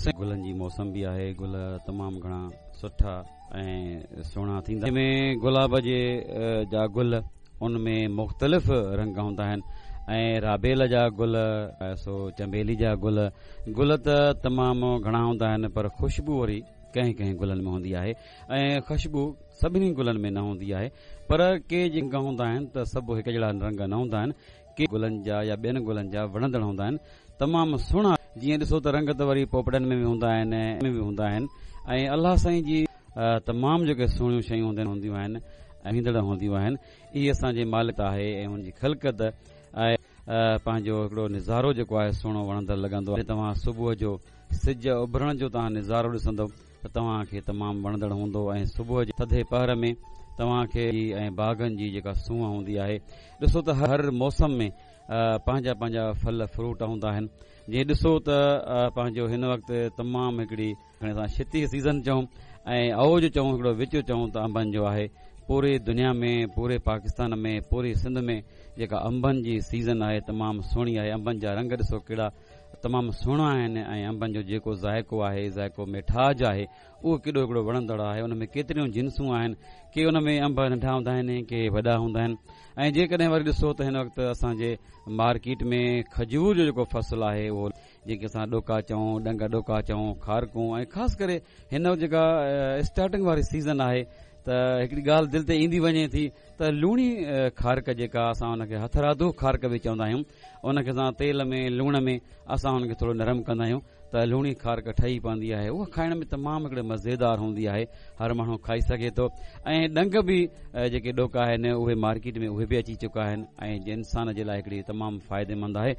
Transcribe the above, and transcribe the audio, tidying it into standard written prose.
گلن جي موسم به آهي. گل تمام گهڻا سٺا ۽ سهڻا ٿيندا ۾ گلاب جي جا گل ان ۾ مختلف رنگ هوندا آهن ۽ رابيل جا گل، سو چنبيلي جا گل. گل ته تمام گهڻا هوندا آهن، پر خوشبو وري ڪنهن ڪنهن گلن ۾ هوندي آهي ۽ خوشبو سڀني گلن ۾ نه هوندي آهي. پر ڪي جي رنگ هوندا آهن ته سڀ هڪ جهڙا رنگ نه هوندا آهن. ڪي گلن جا يا ٻين گلن جا وڻندڙ هوندا آهن، تمام سهڻا. جيئن ڏسو ته رنگ ته وري پوپٽن ۾ به هوندا آهن ۾ به هوندا آهن ۽ الله سائين جي تمام جيڪي سهڻيون شيون هونديون آهن ۽ ايندڙ هونديون آهن، اهي اسان جي مالڪ آهي ۽ ان جي خلقت آهي. پنهنجو هڪڙو نظارو جيڪو آهي سهڻو وڻندڙ لڳندو آهي. توهان صبح جو سج اڀرڻ جو توهان نظارو ڏسندو ته توهان کي تمام وڻندڙ هوندو ۽ صبح جي ٿڌي پهر ۾ توهان کي ۽ باغن جي جيڪا سونهن هوندي آهي. ڏسو ته هر موسم ۾ پنهنجا پنهنجا ڦل فروٽ هوندا آهن. جيئن ڏسو ته پنهنجو هن وقت تمام هڪڙي کڻي اسان شتي سيزن چئون ۽ اوج چئون، هڪڙو وچ چئون ته انبن جو آهي. پوري دنيا ۾، پوري پاڪستان ۾، پوري سنڌ ۾ جيڪا انبن جي سيزن آهي تمام سهڻي آهي. انبن جا رنگ ڏسو ڪهڙا تمام سهڻا آهن ۽ انبن جو جيڪو ذائقو آهي، ذائقو ميٺاج آهي، اهو ڪيڏو هڪڙو وڻندڙ آهي. ان ۾ ڪيتريون جنسون آهن. ڪي ان ۾ انب ننڍا هوندا آهن، ڪي وڏا هوندا آهن. ۽ جيڪڏهن وري ڏسو ته هن وقت اسان جي مارڪيٽ ۾ کجور جو جيڪو فصل آهي، اهو جيڪي اسان ڏوڪا چئون، ڏنگ ڏوڪا چئون، کارڪون، ۽ خاص ڪري هن وقت جيڪا اسٽارٽنگ واري سيزن آهي ته هڪڙي ڳالهه دل تي ايندي وڃي ٿي ته لوڻي کارڪ، جيڪا اسان ان کي هٿرادو کارڪ به چوندا آهيون، ان کي اسان تيل ۾ لوڻ ۾ اسان ان کي ٿورو نرم ڪندا آهيون ته لوڻي کارڪ ٺهي پوندي آهي. اها کائڻ ۾ تمام هڪڙي مزيدار هوندي آهي، هر ماڻهو کائي سگهي ٿو. ۽ ڏنگ به جيڪي ڏوڪا آهن اهي مارڪيٽ ۾ اهي به اچي چڪا آهن ۽ انسان جي لاء هڪڙي تمام فائديمند آهي.